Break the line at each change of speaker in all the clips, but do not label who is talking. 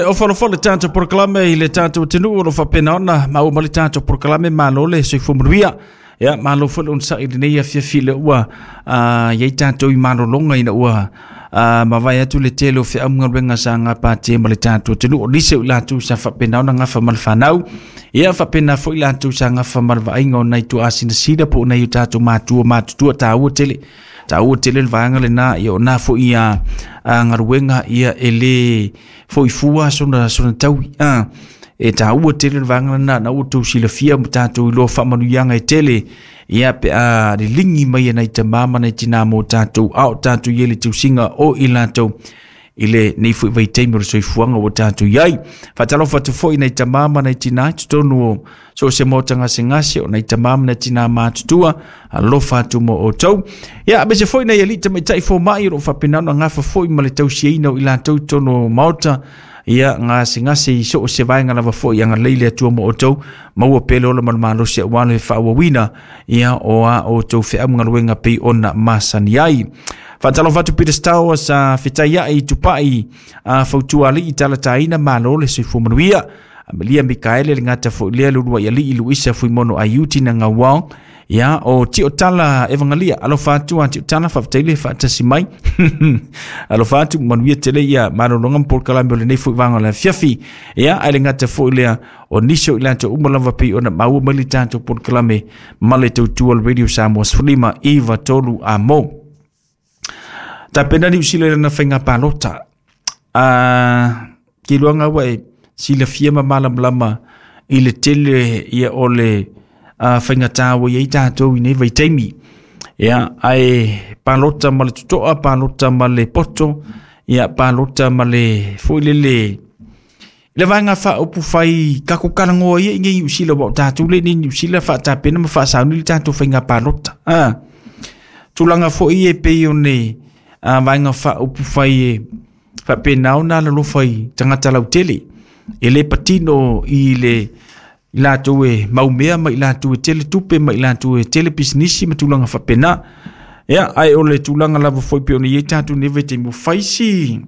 Ofa alofa le tatou polokalame i le tatou atunuu o lo o faapena ona maua mai le tatou polokalame. Malo le soifua manuia. Ia, malo foi le onosai i lenei afiafi lea ua i ai tatou i malologa ina ua mavae atu le tele o feaugaluega sa gapatia ma le tatou atunuu. O nisi o i latou sa faapena ona gafa ma le fanau, ia faapena foi i latou sa gafa ma le vaaiga o nai tuaasinasina po o nai o tatou matua matutua. Taua tele, taua tele le vaega lena. Ia o na foi a galuega ia e le foi fua sona taui. E taua tele le vaega lena na ua tou silafia ma tatou iloa faamanuiaga e tele ia pe a liligi mai e nai tamā ma nai tinā mo tatou, a o tatou i ai le tausiga o i latou i lenei foi vaitaimi o le soifuaga ua tatou i ai. Faatalofa atu foi i nai tamā ma nai tinā i totonu o so o se maota gasegase, o nai tamā ma nai tinā matutua, alofa atu mo outou. Ia, aemaise foi nai alii tamaitai fomai o lo o faapena ona gafa foi ma le tausiaina o i latou i totonu o maota, ia gasegase i so o se vaega lava foi. Agalelei le Atua mo outou, maua pea le ola ma le malosi aua le faaauauina ia o a outou feaugaluega pei ona masani ai. Faatalofa atu Peter Star sa fetaiai i Tupai, a fautua alii talataina, malo le soifua manuia. Amelia Mikaele le gata foi lea lulua i alii Luisa Fuimono Aiuti na ngauao. Ia, o Tio Tala Evangalia, alofa atu a Tio Tala, faafetai le faatasi mai. Alofa atu, manuia tele ia malologa ma polokalame o lenei foi vaega o le afiafi. Ia, ae le gata foi lea o nisi o i latou uma lava pei ona maua mai le tatou polokalame ma le tautua o le Radio Samoa 15 9 3 a mo. Tapena Niu Sila i lana faiga palota. Ke iloa ua e silafia ma malamalama i le tele ia o le faigata ua i ai tatou i nei vaitaimi. Ia, ae palota ma le totoa, palota ma le poto, ia palota ma le foi lele le vaega faaupufai tatou talanoa ia i nei Niu Sila, ua o tatou le nei Niu Sila faatapena ma faasauni le tatou faiga palota. Tulaga foi e pei o ne vaega faaupufai e faapena ona alolofa i tagata lautele, e le patino i le i latou e maumea ma i latou e tele tupe ma i latou e tele pisinisi ma tulaga faapena. Ia, ae o le tulaga lava foi pei ona i ai tatou nei vaitaimi, ua fai si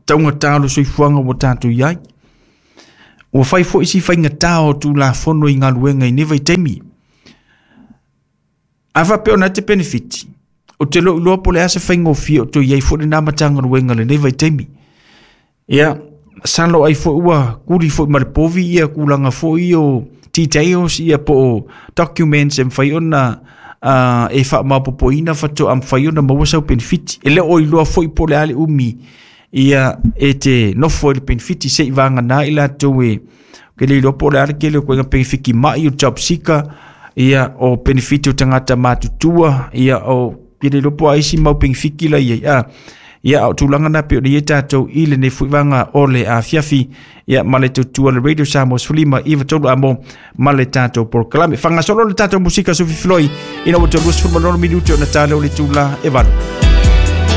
taugata o le soifuaga ua tatou i ai. Ua fai foi si faigata o Tulafono i galuega i nei vaitaimi. A faapea ona e te penefiti, o te lou iloa po o le a se faigofie o toe i ai foi lena Matagaluega i lenei vaitaimi. Ia, masalo ai foi ua kuli foi ma le povi ia tulaga foi o details ia po o documents e mafai ona e faamaopoopoina faatoa mafai ona maua sau penefiti. E le o iloa foi po o le a le umi ia e te nofo i le penefiti se i vagana i latou e ke le iloa po o le a le tele o koiga penefiti mai o job seeker, ia o penefiti o tagata matutua, ia o ke le iloa po o a isi mau penefiti la i ai. Ia, o tulaga na pei ona i ai tatou i lenei foi vaega o le afiafi, ia ma le tautua le Radio Samoa 15 9 3 amo ma le tatou polokalame. Faagasolo le tatou musika Sufi Filoi ina ua toe 26 minute ona tale o le itula e 8.